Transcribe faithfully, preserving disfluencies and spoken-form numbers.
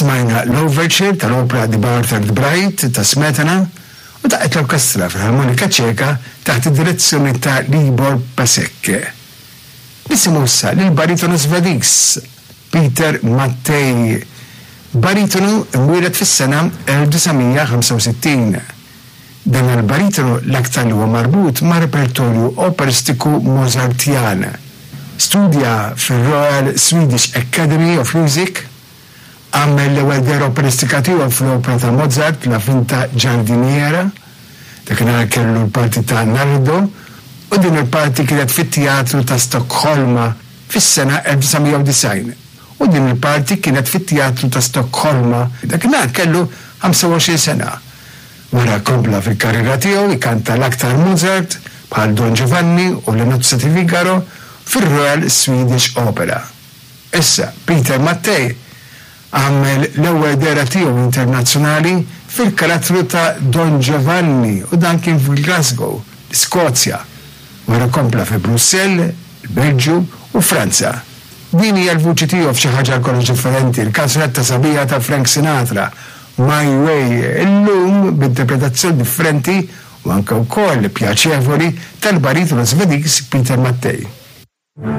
Smajna l-Overture tal-opra The Bartered Bride ta' Smetana u daqqet l-Orkestra Filarmonika Ċeka taħt id-direzzjoni ta' Libor Pesek. Nisimgħu issa lill-baritonu Svediż Peter Mattei, baritonu imwieled fis-sena elf disa' mija ħamsa u sittin. Dan il-baritonu l-aktar li huwa marbut ma' repertorju operistiku Mozartjan. Studja fir-Royal Swedish Academy of Music, għamel l-ewwel dehra operistika tiegħu fl-opra ta' Mozart La Finta Giardiniera, dakinhar kellu l-parti ta' Nardo, u din il-parti kienet fit-Teatru ta' Stokholma fis-sena elf disa' mija u disgħin. U din il-parti kienet fit-Teatru ta' Stokholma, dakinhar kellu ħamsa u għoxrin sena. Wara kompla fil-karriera tiegħu ikanta l-aktar Mozart bħal Don Giovanni u Le Nozze di Figaro fir-Royal Swedish Opera. Issa, Peter Mattei għamel l-ewwel dehra tiegħu internazzjonali fil-karattru ta' Don Giovanni u dan kien f'Glasgow, l-Iskozja. Wara kompla fi Brussell, il-Belġju u Franza. Din hija l-vuċi tiegħu f'xi ħaġa kollox differenti, il-kanzunetta sabiħa ta' Frank Sinatra, My Way, illum b'interpretazzjoni differenti u anke wkoll pjaċevoli tal-baritonu Svediż Peter Mattei.